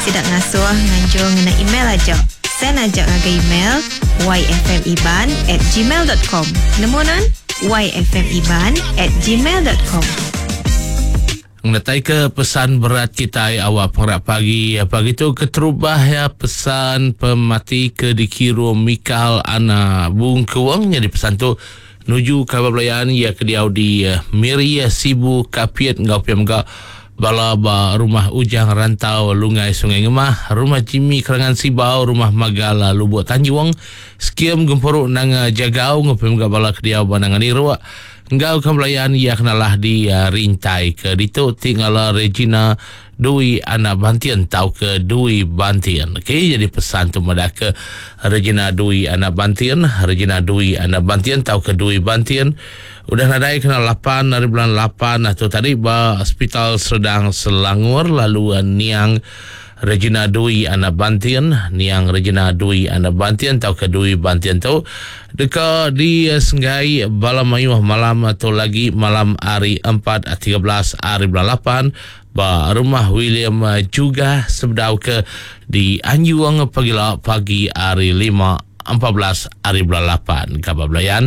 Sida ngasuh nganjung ngena email aja. Send aja ngagai email yfmiban at gmail dot com. Nemu nan? yfmiban at gmail dot com. Ngenataika pesan berat kitai awak pengerak pagi pagi tu keterubah iya pesan pemati ke dikirum Mikal Ana Bungkuang nyadi pesan tu nuju kaban belayan iya ke diau di Miri, Sibu, Kapit enggau pia mega bala ba Rumah Ujang Rantau Lungai Sungai Ngemah, Rumah Jimmy Kerangan Sibau, Rumah Magal Lubuk Tanjung, Skim Gempuru Nanga Jagau enggau pia mega bala ke diau ba Nanga Niruk enggau kaban belayan iya ke nalah di Rintai ke ditu ti ngala Regina Dui anak Bantin tauka Dui Bantin. Okey, jadi pesan tu madahka Regina Dui anak Bantin, Regina Dui anak Bantin tauka Dui Bantin udah nadai kena lapan ari bulan lapan tu tadi ba Hospital Serdang Selangor lalu niang Regina Dui anak Bantin, niang Regina Dui anak Bantin tauka Dui Bantin tu deka disenggai bala mayuh malam tu lagi malam hari empat 13 ari bulan lapan ba Rumah William Jugah sebedau ke dianjung pagila pagi hari lima 14 ari bulan lapan. Kaban belayan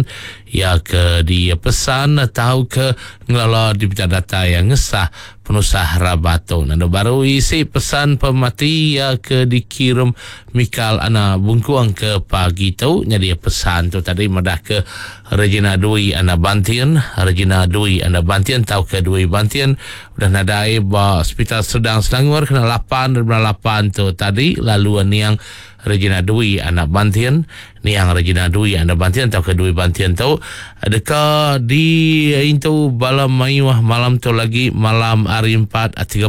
iya ke dipesan tauka ngelala dipinta datai ngesah penusah rabat tu. Nandu baru isi pesan pemati iya ke dikirum Mikal Ana Bungkuang ke pagi tu. Nyadi pesan tu tadi madah ke Regina Dui Ana Bantin, Regina Dui Ana Bantin tauka Dui Bantin udah nadai ba Sepital Serdang Selangor kena lapan ari bulan lapan tu tadi lalu niang Regina Dui Anak Bantin Niang Regina Dui Anak Bantin tauka Dui Bantin tu deka diintu bala mayuh malam tu lagi malam hari empat 13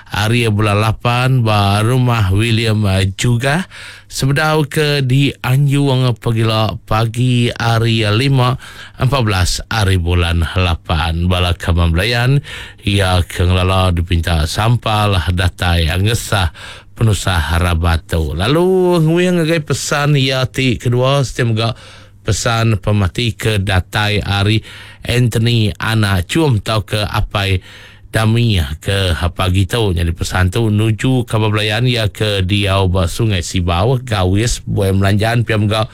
hari bulan lapan ba Rumah William Jugah sebedau ke dianjung pagila pagi hari lima 14 hari bulan lapan. Bala kaban belayan iya ke ngelala dipinta sampal datai ngesah penusah rabat tu. Lalu nguing ngagai pesan iya ti kedua siti mega pesan pemati ke datai ari Anthony Anak Chum tauka Apai Dami ke pagi tu. Nyadi pesan tu nuju kaban belayan iya ke diau ba Sungai Sibau, Gawis, Buai Melanjan pia mega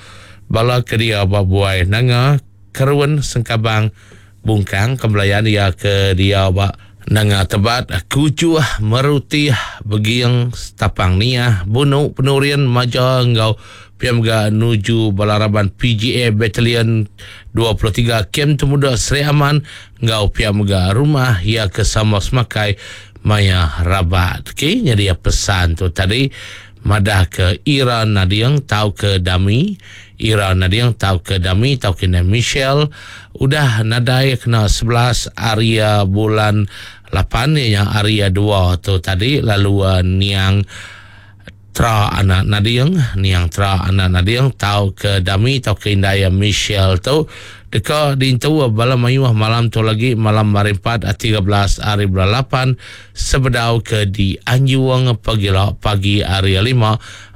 bala ke diau ba Buai Nanga, Kerun, Sengkabang, Bungkang ke belayan iya ke diau ba Nanga Tebat, Kujuh, Merutih, Beging, Stapang Niah, Bunu, Penurin, Maja enggau pia mega nuju bala raban PGA Battalion 23 Kem Temuda Sri Aman enggau pia mega rumah iya ke sama semakai maya rabat. Okey, nyadi pesan tu tadi madah ke Ira Nading tauka Dami Ira Nading tauka Dami tauka Indai Michelle udah nadai kena 11 ari bulan lapan iya nya ari dua tu tadi lalu niang Tra anak Nading niang Tra anak Nading tauka Dami tauka Indai Michelle tu deka diintu bala mayuh malam tu lagi malam hari empat 13 ari bulan lapan sebedau ke dianjung pagila pagi hari lima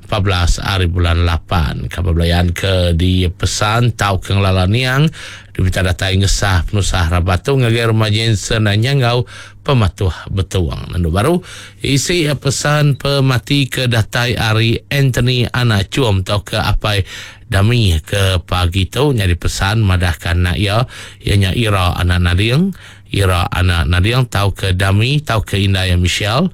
14 ari bulan lapan. Kaban belayan ke dipesan tauka ngelala niang dipinta datai ngesah penusah rabat tu ngagai Rumah Jensen Nyanggau Pematuh Betung. Nendu baru isi pesan pemati ke datai ari Anthony Anak Chum tauka Apai Dami ke pagi tu nyadi pesan madahka anak iya, iya nya Ira Anak Nading, Ira Anak Nading tauka Dami tauka indai Michelle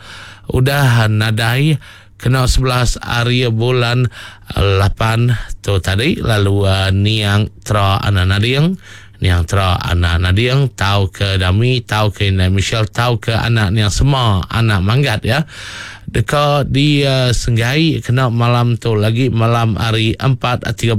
udah nadai Kena 11 ari bulan lapan tu tadi lalu niang Tra Anak Nading, niang Tra Anak Nading tauka Dami tauka indai Michelle tauka anak niang Sema anak Manggat ya deka disenggai kena malam tu lagi malam hari empat 13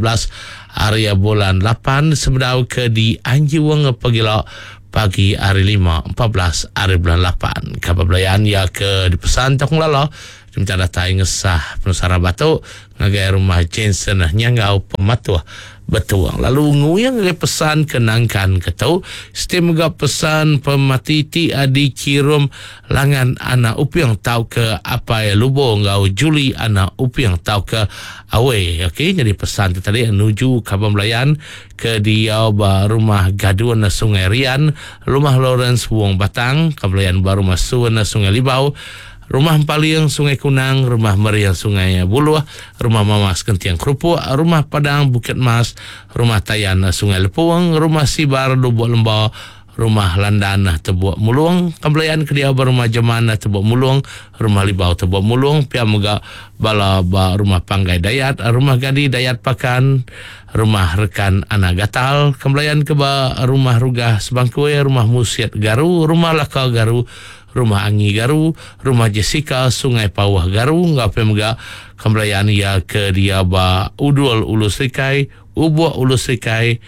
ari bulan lapan sebedau ke dianjung pagila pagi hari lima 14 ari bulan lapan. Kaban belayan iya ke dipesan tauka ngelala diminta datai ngesah penusah rabat tu ngagai Rumah Jensen Nyanggau Pematuh Betung. Lalu nguing ngagai pesan ke nangkan ke tu, siti mega pesan pemati ti dikirum Langan anak Uping tauka Apai Lubo enggau Julie anak Uping tauka Awei. Okey, nyadi pesan tu tadi nuju kaban belayan ke diau ba Rumah Gadun Sungai Rian, Rumah Lawrence Wong Batang, Kebelayan ba Rumah Sun Sungai Libau. Rumah Empaling Sungai Kunang, Rumah Mering Sungai Buluh, Rumah Mamas Genting Kerupuk, Rumah Padang Bukit Mas, Rumah Tayan Sungai Lepung, Rumah Sibar Lubuk Lemba, Rumah Landan Tebuk Mulung, Kembelayan ke diau ba Rumah Jeman Tebuk Mulung, Rumah Libau Tebuk Mulung, pia mega bala ba Rumah Panggai Dayat, Rumah Gadi Dayat Pakan, Rumah Rekan Anak Gatal, Kembelayan ke ba Rumah Rugah Sebangkui, Rumah Musit Garu, Rumah Laka Garu, Rumah Angi Garu, Rumah Jessica Sungai Pauh Garu enggau pia mega Kembelayan iya ke diau ba Udul Ulu Serikai, Ubok Ulu Serikai,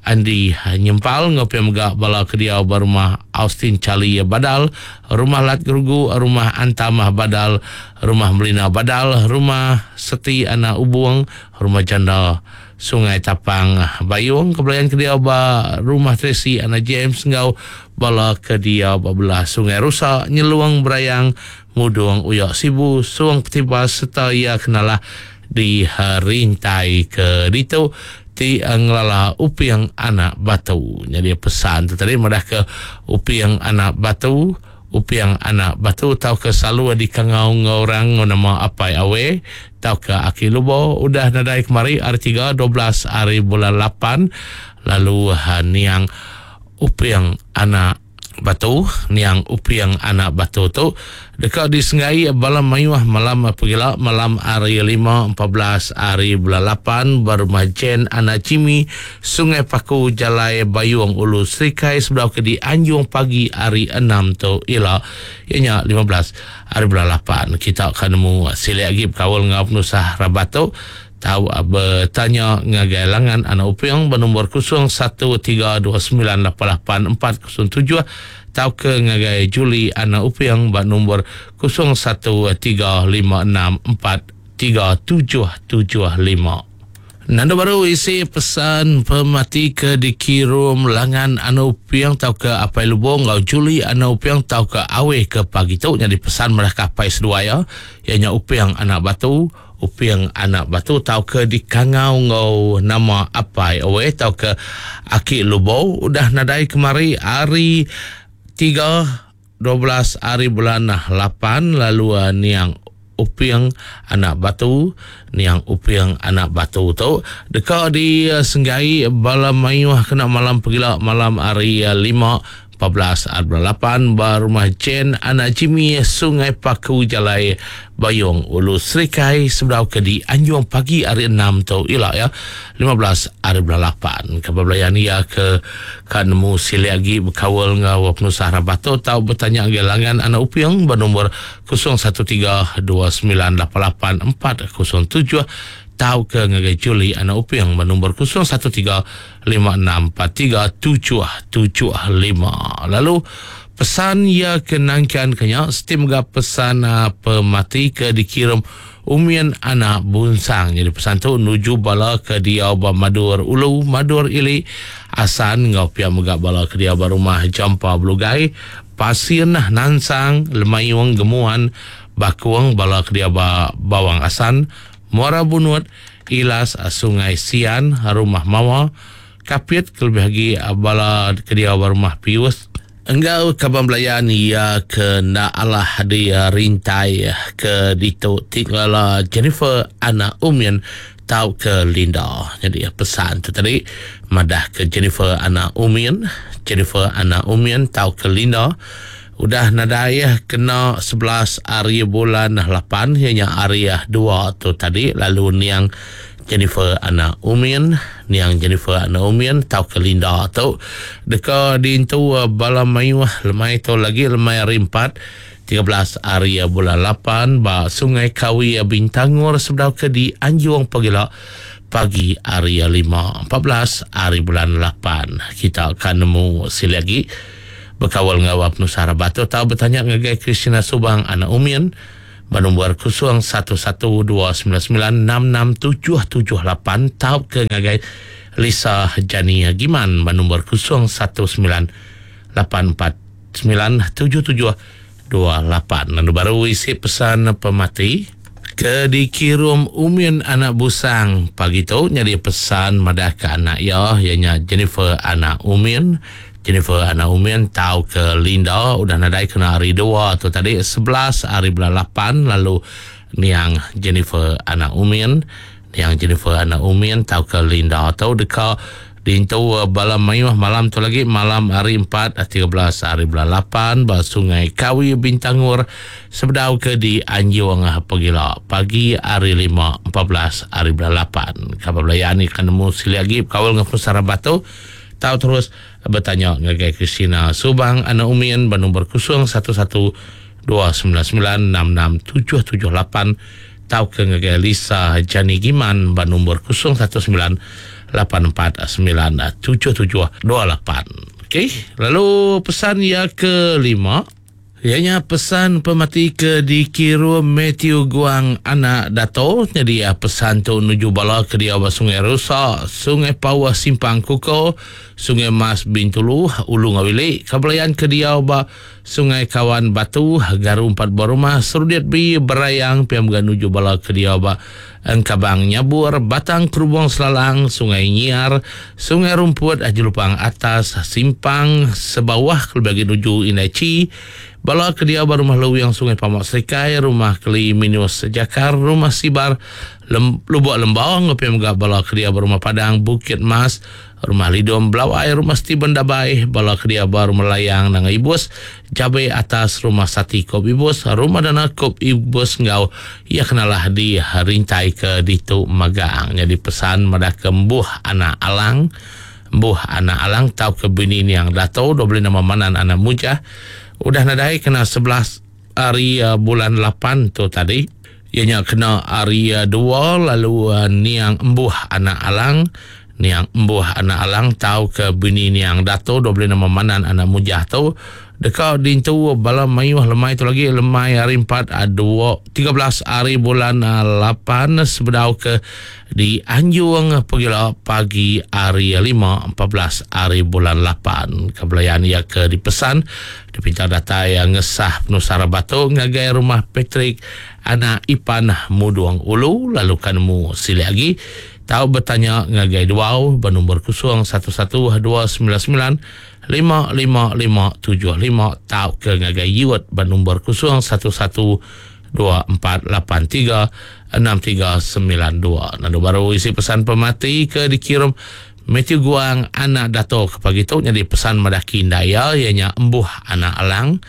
Andi Nyempal enggau pia mega bala ke diau ba Rumah Austin Charlie Badal, Rumah Lat Gerugu, Rumah Antamah Badal, Rumah Melina Badal, Rumah Seti Anak Ubung, Rumah Janda Sungai Tapang Bayung, Kebelayan ke diau ba Rumah Tracy Anak James enggau bala ke diau ba belah Sungai Rusa, Nyelung Berayang, Mudung Uyak Sibu, Sung Ketibas sereta iya ke nalah di rintai ke ditu ti ngelala Uping Anak Batu. Nyadi pesan tu tadi madahka Uping Anak Batu, Uping Anak Batu tauka selalu dikangau enggau orang enggau nama Apai Awe tauka Aki Lubo udah nadai kemari hari tiga 12 hari bulan lapan lalu niang Uping Anak Batu, niang Uping Anak Batu tu deka disenggai bala mayuh malam pegila malam hari lima 14 hari bulan lapan ba Rumah Jen Anak Jimmy, Sungai Paku, Jalai Bayung Ulu Serikai sebedau ke dianjung pagi hari enam tu ila iya nya 15 hari bulan lapan. Kita ka nemu silik agi bekaul enggau penusah rabat tu. Tau betanya ngagai Langan Anak Uping ba nombor 0132988407 tauka ngagai Julie Anak Uping ba nombor 0135643775. Nanda baru isi pesan pemati ke dikirum Langan Anak Uping tauka Apai Lubong enggau Julie Anak Uping tauka Aweh ke pagi tu nyadi pesan madah ke apai seduai iya, iya nya Uping Anak Batu. Uping Anak Batu tauka dikangau enggau nama Apai Owe tauka Aki Lubou udah nadai kemari hari tiga 12 hari bulan lapan lalu niang Uping Anak Batu niang Uping Anak Batu tu deka disenggai bala mayuh kena malam pegila malam hari lima 14 hari bulan lapan ba Rumah Jen Anak Jimmy Sungai Paku Jalai Bayong Ulu Serikai sebedau ke di Anjung pagi hari enam tu ila ya 15 hari bulan lapan. Ke belayan iya ke ka nemu silik agi bekaul enggau penusah rabat tu tau betanya ngagai Langan Anak Uping ba nombor 013 29 88 407 tauka ngagai Julie Anak Uping ba nombor 013 5643775. Lalu pesan iya ke nangkan ke nya siti mega pesan pemati ke dikirum Umin Anak Bunsang. Jadi pesan tu nuju bala ke diau ba Madur Ulu, Madur Ili, Asan enggau pia mega bala ke diau ba Rumah Jampa Belugai, Pasin, Nansang, Lemayung, Gemuan, Bakung, bala ke diau ba Bawang Asan, Muara Bunut, Ilas, Sungai Sian, Rumah Mawa, Kapit kelebih agi bala ke diau ba Rumah Pius enggau kaban belayan iya ke enda alah di rintai ke ditu ti ngelala Jennifer Anak Umin tauka Linda. Nyadi pesan tu tadi madah ke Jennifer Anak Umin, Jennifer Anak Umin tauka Linda udah nadai kena 11 hari bulan lapan iya nya hari dua tu tadi lalu niang Jennifer Anak Umin, niang Jennifer Anak Umin tauka Linda tu deka diintu bala mayuh lemai tu lagi lemai hari empat 13 hari bulan lapan ba Sungai Kawi Bintangor sebedau ke dianjung pagila pagi hari lima 14 hari bulan lapan. Kita akan nemu silik agi bekaul enggau penusah rabat tu tau betanya ngagai Christina Subang Anak Umin ba nombor 0112996677 tauka ngagai Lisa Jani Giman ba nombor 0198497728. Lalu baru isi pesan pemati ke dikirum Umin Anak Busang pagi tu nyadi pesan madah ke anak iya, iya nya Jennifer Anak Umin. Jennifer anak Umin tau ke Linda udah nadai kena hari dua tu tadi 11 hari bulan 8 lalu niang Jennifer anak Umin niang Jennifer anak Umin tau ke Linda tu deka Dintu bala mayuh malam tu lagi malam hari 4 13 hari bulan 8 ba Sungai Kawi Bintangor sebedau ke di Anjung pegila pagi hari 5 14 hari bulan 8. Kaban belayan ni kan nemu silik agi bekaul dengan penusah rabat tu tau terus betanya ngagai Christina Subang anak Umin ba nombor 011 299 66778 tauka ngagai Lisa Jani Giman ba nombor 019 849 7728. Okey, lalu pesan ia kelima ianya pesan pemati ke dikirum Matthew Guang anak Dato. Jadi pesan tu nuju bala ke dia ba Sungai Rusa, Sungai Pauh Simpang Kuko, Sungai Mas Bintulu, Ulu Ngawili, Kabelayan ke dia ba Sungai Kawan Batu, Garu 4 buah rumah, Serudit B, Berayang, pia mega nuju bala ke diau ba Engkabang Nyabur, Batang Kerubung Selalang, Sungai Nyiar, Sungai Rumput, Jelupang Atas, Simpang Sebawah kelebih agi nuju Indai Chi, bala ke diau ba Rumah Luwing Sungai Pamak Serikai, Rumah Keli Minus Jakar, Rumah Sibar, Lem, Lubuk Lembau enggau pia mega bala ke diau ba Rumah Padang Bukit Mas, Rumah Lidom Belawai, Rumah Steven Dabai, bala ke diau ba Rumah Layang Nanga Ibus, Jabe atas Rumah Sati Kop Ibus, Rumah Dana Kop Ibus enggau iya kenalah di rintai ke ditu magang. Nyadi pesan madah ke embuh anak Alang, embuh anak Alang tauka bini niang Dato dua beli nama Manan anak Mujah udah nadai kena 11 hari bulan 8 tu tadi. Iya nya kena hari 2 lalu niang embuh anak Alang, niang embuh anak Alang tauka bini niang Dato dua beli nama Manan anak Mujah tu deka dintu bala mayuh lemai tu lagi lemai hari 4 2 13 hari bulan 8 sebedau ke di Anjung pegila pagi hari 5 14 hari bulan 8. Kebelayan ia ke dipesan dipinta datai ngesah penusah rabat tu ngagai rumah Patrick anak Ipan Mudung Ulu lalu kan nemu silik agi tau bertanya ngagai duau bernombor 011 299 55575 tau ke ngagai Yuet bernombor 011 2483 6392. Lalu baru isi pesan pemati ke dikirim Matthew Guang anak Dato ke pagi tu jadi pesan madaki indaya ianya embuh anak Alang,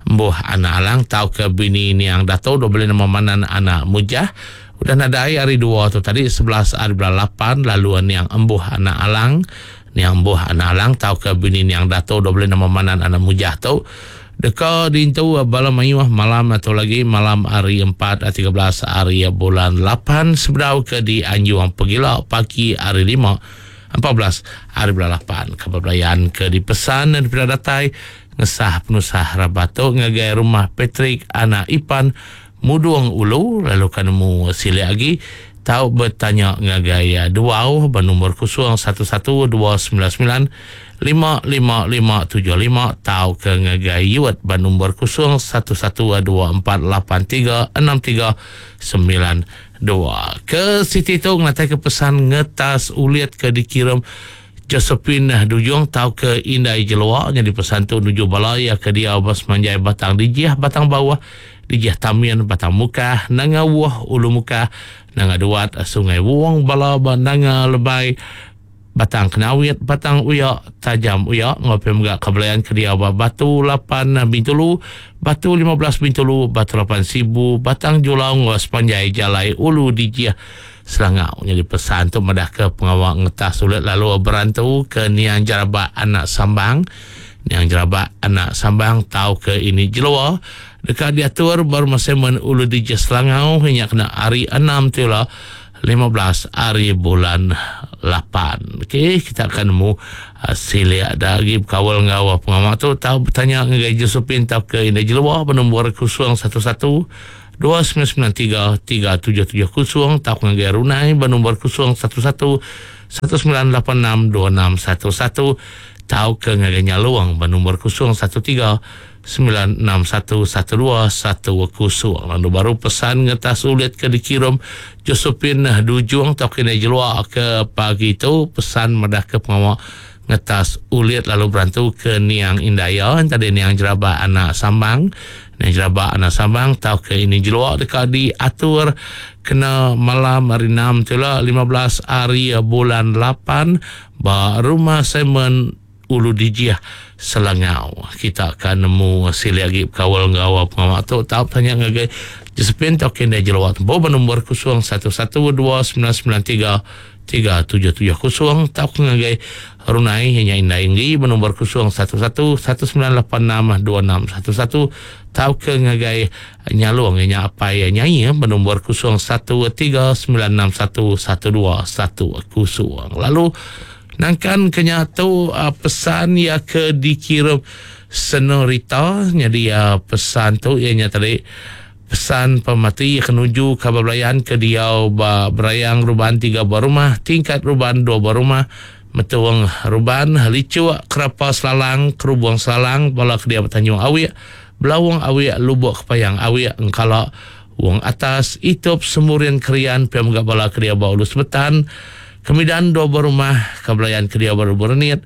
embuh anak Alang tau ke bini niang Dato dua beli nama Manan anak Mujah udah nadai hari 2 tu tadi 11 hari bulan 8 lalu niang embuh anak Alang, niang embuh anak Alang tau ke bini niang Dato dua beli nama Manan anak Mujah tu deka dintu bala mayuh malam atau lagi malam hari 4 13 hari bulan 8 sebedau ke di Anjung Pegila pagi hari 5 14 hari bulan 8. Kabar belayan ke dipesan dan daripada datai ngesah penusah rabat tu ngagai rumah Patrick anak Ipan Mudung Ulu lalu kan nemu silik lagi tau bertanya ngagai duau bernombor 011 299 55575 tau ke ngagai Yuet bernombor 011 2483 6392. Ke Siti tu ngatai ke pesan ngetas ulit ke dikirim Josephine Dujung tau ke Indai Jelua jadi pesan tu nuju bala ya ke dia bas manjai batang dijih batang bawah dijih Tamian batang Mukah Nanga Wuh Ulu Mukah Nanga Duat Sungai Wong bala ba Nanga Lebai Batang Kenawit Batang Uya Tajam Uya ngopi mega kebelayan ke dia ba Batu 8 Bintulu Batu 15 Bintulu Batu 8 Sibu Batang Julau ngau sepanjai jalai Ulu Dijih Selangau. Jadi pesan tu madah ke pengawal ngetas sulit lalu berantu ke niang jarabak anak Sambang. Niang jarabak anak Sambang tau ke ini jelua dekat diatur baru masemen Ulu Dijih Selangau hanya kena hari 6 tila 15 hari bulan 8. Okey, kita akan nemu silik ada lagi berkawal ngau pengamak tu tahu bertanya dengan Josephine tau ke ini jelua bernombor 011 2993 3770 tau ngagai Runai bernombor 011 1986 2611 tau ke ngagai Nyaluang bernombor 013 961 1210. Lalu baru pesan ngetas ulit ke dikirim Josephine Dujung tau kena jelua ke pagi tu pesan madah ke pengawal Ngetas ulit lalu berantu ke niang indai iya entadi niang Jeraba anak Sambang. Niang Jeraba anak Sambang tauka ini jelua deka diatur kena malam hari enam tu ila 15 hari bulan lapan ba Rumah Simon Ulu Dijih Selangau. Kita ka nemu silik agi bekaul enggau pengawa tu tau betanya ngagai Josephine tauka indai jelua tembu ba nombor 011 2993 3770 tauka ngagai Runai iya nya Indai Enggi benombor 011 1986 2611 tauka ngagai Nyalong iya nya Apai Nyai benombor 01 3961 1210. Lalu nangkan ke nya tu pesan iya ke dikirum Senorita nyadi pesan tu iya nya tadi Pesan pemati ke nuju kaban belayan ke diau ba Berayang Ruban tiga buah rumah, Tingkat Ruban dua buah rumah, Metung Ruban, Lichuk, Kerapa Selalang, Kerubung Selalang, bala ke diau ba Tanjung Awik, Belaung Awik, Lubok Kepayang Awik, Engkala, Wong Atas, Itup, Semurin Krian pia mega bala ke diau ba Ulu Sebetan, Kemidan dua buah rumah, kaban belayan ke diau ba Lubok Renit,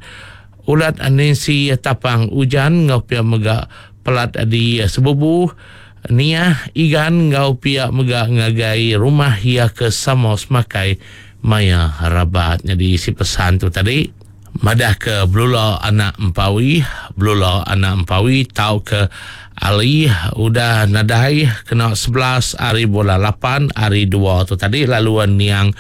Ulat Nancy Tapang Ujan enggau pia mega pelat di Sebubu, Niah, Igan enggau pia mega ngagai rumah iya ke sama semakai maya rabat. Nyadi isi pesan tu tadi madah ke Belula anak Empawi, Belula anak Empawi tauka Ali udah nadai kena 11 ari bulan lapan ari dua tu tadi lalu niang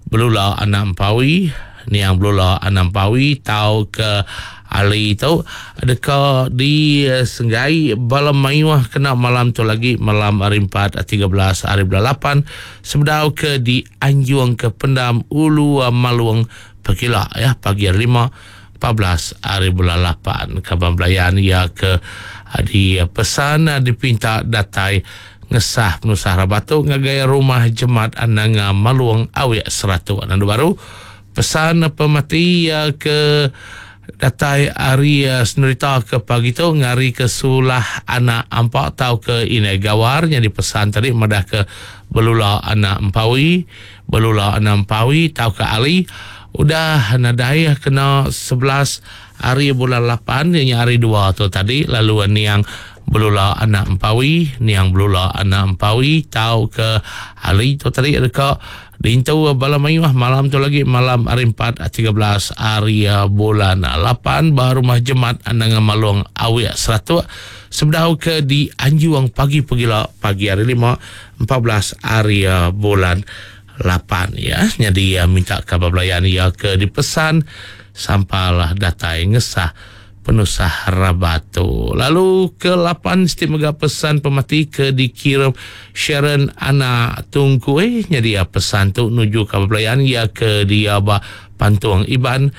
Belula anak Empawi, Niang Belula anak Empawi tauka Ali tu deka disenggai bala mayuh kena malam tu lagi malam hari empat 13 hari bulan lapan sebedau ke dianjung ke pendam Ulu Malung pekila ya pagi hari lima 14 hari bulan lapan. Kaban belayan iya ke dipesan dipinta datai Ngesah penusah rabat tu ngagai Rumah Jemat Nanga Malung Awik Seratuk. Nandu baru, pesan pemati iya ke datai ari senerita ke pagi tu ngarika sulah anak ampa tauka indai gawar nyadi pesan tadi madahka Belula anak Empawi, Belula anak Empawi tauka Ali udah nadai kena 11 hari bulan lapan iya nya hari dua tu tadi lalu niang Belula anak Empawi, niang Belula anak Empawi tauka Ali tu tadi deka diintu bala mayuh malam tu lagi malam hari empat 13 hari bulan lapan ba Rumah Jemat Nanga Malong Awik Seratuk sebedau ke dianjung pagi pegila pagi hari lima 14 hari bulan lapan ya. Nyadi minta kaban belayan iya ke dipesan sampal datai ngesah penusah rabat tu. Lalu ke lapan siti mega pesan pemati ke dikirim Sharon anak Tungkui nyadi iya pesan tu nuju ka belayan iya ke diau ba Pantung Iban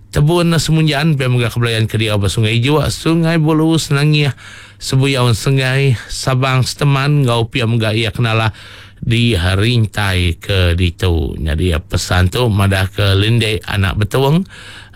Tebun Semunjan pia mega ke belayan ke diau ba Sungai Ijuk, Sungai Bulu, Senangih, Sebuyau Senggai, Sabang Seteman enggau pia mega iya kenalah di rintai ke ditu. Nyadi pesan tu madah ke Lindek anak Betung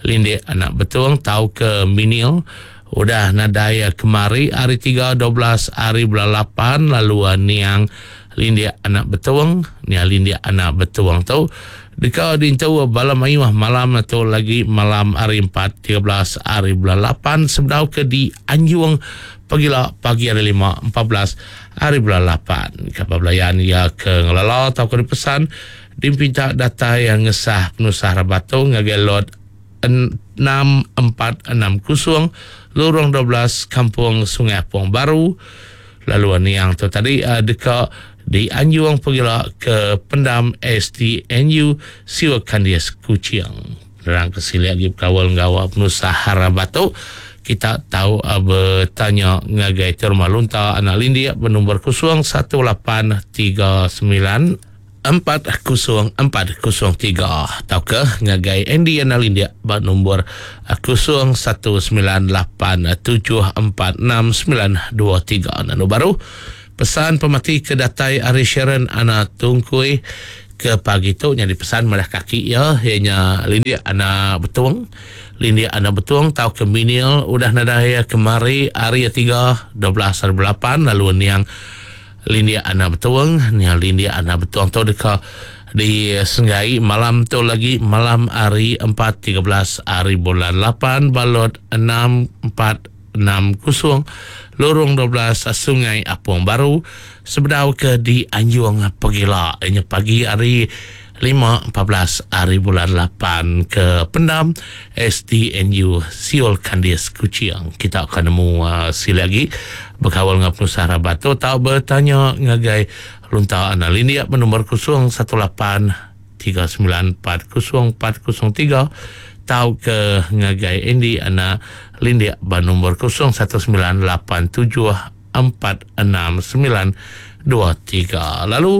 Lindik anak Betong tauka Minil udah nadai kemari hari tiga 12 hari bulan lapan lalu niang Lindik anak Betong niang Lindik anak Betong tu deka diintu bala mayuh malam tu lagi malam hari empat 13 hari bulan lapan sebedau ke dianjung pagila pagi hari lima 14 hari bulan lapan. Kapa belayan iya ke ngelala tauka dipesan Dipinta datai ngesah penusah rabat tu ngagai Lot 6460 Lurung 12 Kampung Sungai Apong Baru lalu niang tu tadi deka dianjung pegila ke Pendam SDNU Siwa Kandis Kuching. Penerang ke silik agi bekaul enggau penusah rabat tu kita tau betanya ngagai Terma Lunta Anak Lindik benombor 01839 40403 tauka ngagai Andy Anna Lindik ba nombor 0198746923. Nanu baru pesan pemati ke datai ari Sharon Anna Tungkui ke pagi tu nyadi pesan madah kaki iya iya nya Lindik Anna Betung. Lindik Anna Betung tauka Minil udah nadai kemari hari tiga 12 hari bulan lapan lalu niang Lindik Anak Betung, nya Lindik Anak Betung tu deka Di Senggai malam tu lagi malam hari 4 13 hari bulan 8 balot 6 4 6 0 lorong 12 Sungai Apong Baru sebedau ke di Anjung Pegila inya pagi hari 5 14 hari bulan 8 ke pendam SDNU Siol Kandis Kuching. Kita akan nemu sila lagi berkawal dengan penusah rabat tu tau bertanya ngagai Lunta Anak Lindik bernombor 0 18 39 40 403 tau ke ngagai Andy Anak Lindik bernombor 0 19 87 4 6 9 2 3. Lalu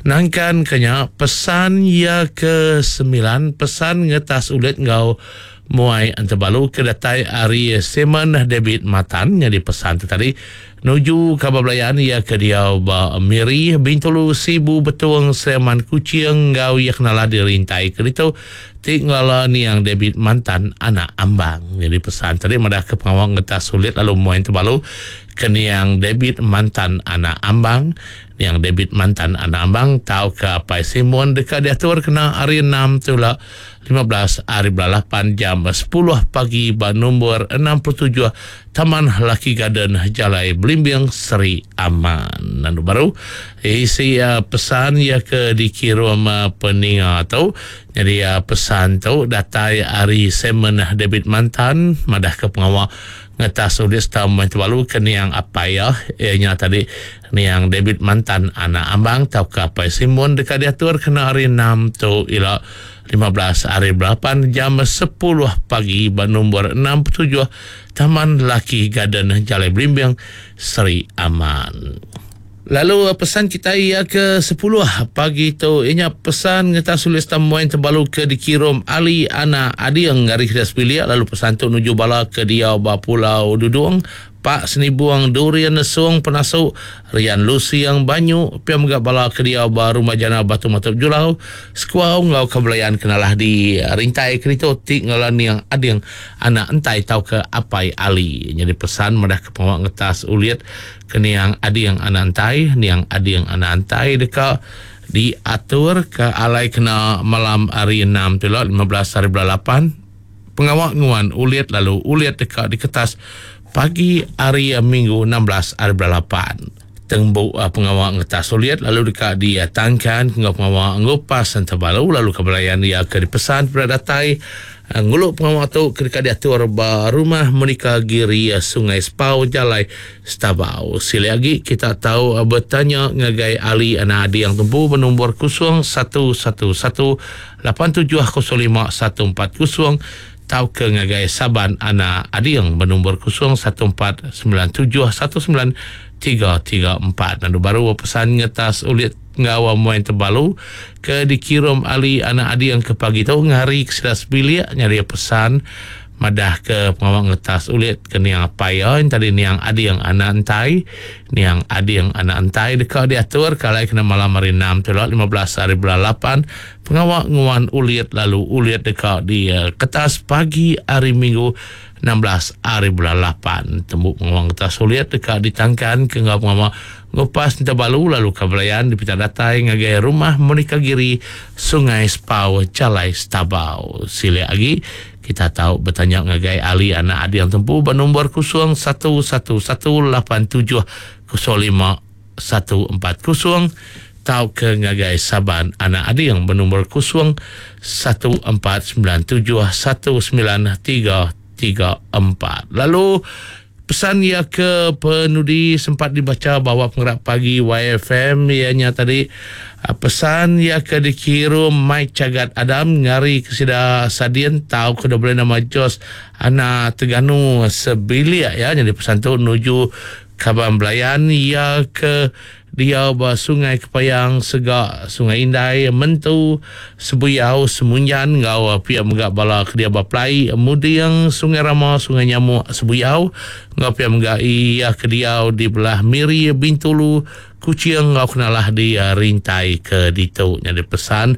nangkan kenya pesan ya ke 9 pesan ngetas ulit ngau muai antebalu ke datai ari Simon David Matan jadi pesan tu tadi nuju kabar belayan ia ke diau ba Miri, Bintulu, Sibu, Betong, Sleman, Kuching ngau ia kenala dirintai ke ditu ti ngelala niang David Mantan anak Ambang. Jadi pesan tadi madah ke pengawal ngetas sulit lalu muai antebalu ke niang David Mantan anak Ambang. Niang David Mantan anak Ambang tau ke Apai Simon dekat diatur kena hari 6 tu lah 15 hari bulan 8 jam 10 pagi ba nombor 67 Taman Lucky Garden Jalai Belimbing Seri Aman. Lalu baru isi pesan ya ke dikirim peninga tu. Jadi pesan tu datai ari Simon David Mantan madah ke pengawal ngetas ulis tamu balu ke niang apai ya ianya tadi niang David Mantan anak Ambang tau ke Apai Simon dekat diatur kena hari 6 tu ila 15 hari 8 jam 10 pagi ba nombor 67 Taman Lucky Garden Jalai Belimbing Seri Aman. Lalu pesan kita ia ke 10 pagi tu ianya pesan ngetas tulis tamuan terbalu ke dikirim Ali anak Adiang dari Kedah Sepilik. Lalu pesan tu nuju bala ke dia ba Pulau Dudung Pak Senibuang Durian Nesung Penasuk Rian Lusiang Banyu piam gak bala ke dia ba Rumah Jana Batu Matup Julau Sekuau ngau kebelayan kenalah di rintai kerito ti ngalan niang Ading anak entai tau ke Apai Ali. Jadi pesan madah ke pengawak ngetas ulit ke niang Ading anak entai, niang Ading anak entai deka diatur ke alai kena malam hari 6 tu lah 15 hari bulan 8 pengawak nguan ulit lalu ulit deka diketas pagi hari Minggu 16 hari bulan 8. Tengbu pengawak ngetas ulit lalu deka ditangkan ngau pengawak ngupas antabalu lalu kebelayan ia ke dipesan pada datai nguluk pengawak tu ke deka diatur ba rumah Monica Giri Sungai Spau Jalai Stabau. Sila lagi kita tahu bertanya ngagai Ali anak adi yang tumpu bernombor 0 1 1 1 8 7 0 5 1 4 0 tau ke ngagai Saban anak Adiang bernombor 0 1 4 9 7 1 9 3 3 4. Lalu baru pesan ngetas ulit ngawa muai terbalu ke dikirim Ali anak Adiang ke pagi tu ngari ke sedas bilik nyari pesan madah ke pengawal ngetas ulit ke niang apai ya tadi niang Adiang anak entai, niang Adiang anak entai dekat diatur kalai kena malam hari 6 tu lah 15 hari bulan 8 pengawal nguan ulit lalu ulit dekat di kertas pagi hari Minggu 16 hari bulan 8 tembuk pengawal ngetas ulit dekat ditangkan ke ngau pengawal ngupas terbalu lalu kebelayan di pita datai ngagai rumah Monica Giri Sungai Spau Jalai Stabau. Sila lagi kita tahu bertanya ngagai Ali anak adi yang tempu bernombor 0 1 1 1 8 7 0 5 1 4 0 tau ke ngagai Saban anak adi yang bernombor 0 1 4 9 7 1 9 3 3 4. Lalu pesan ia ke penudi sempat dibaca bawa penggerak pagi YFM ianya tadi pesan ia ke dikirim Mike Cagat Adam ngari ke sida Sadian tau ke boleh nama Jos anak Teganu sebilik ya. Jadi pesan tu nuju Kaban Belayan ia ke dia ba Sungai Kepayang Segak Sungai Indai Mentu Sebuyau Semunjan ngau pia megak bala ke dia ba Plai Muding Sungai Rama Sungai Nyamuk Sebuyau ngau pia megak ia ke dia di belah Miri Bintulu Kuching ngau kenalah di rintai ke ditu. Jadi pesan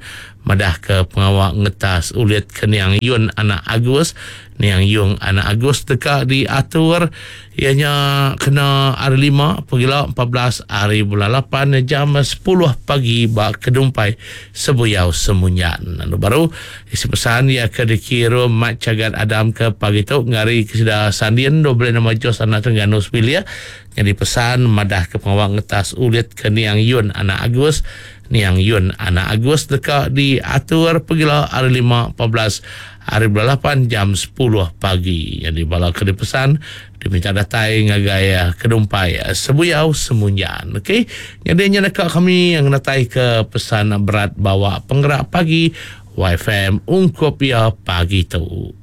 Madah ke pengawa ngetas ulit ke niang Yun anak Agus. Niang Yung anak Agus deka diatur iya nya kena Hari Lima pegila 14 hari bulan lapan jam 10 pagi ba Kedumpai Sebuyau Semunyan. Lalu baru isi pesan iya ke dikirum Mat Chagat Adam ke pagi tu ngari ke sida Sandin 12 nama Jos anak Terengganu sebilik nyadi pesan madah ke pengawa ngetas ulit ke niang Yun anak Agus. Niang Yun anak Agus deka diatur pegila Hari Lima 14 hari bulan lapan jam 10 pagi. Nyadi bala ke dipesan diminta datai ngagai Kedumpai Sebuyau Semunjan. Okey. Nyadi nya deka kami ngenatai ke pesan berat bawa penggerak pagi YFM ungkup iya pagi tu.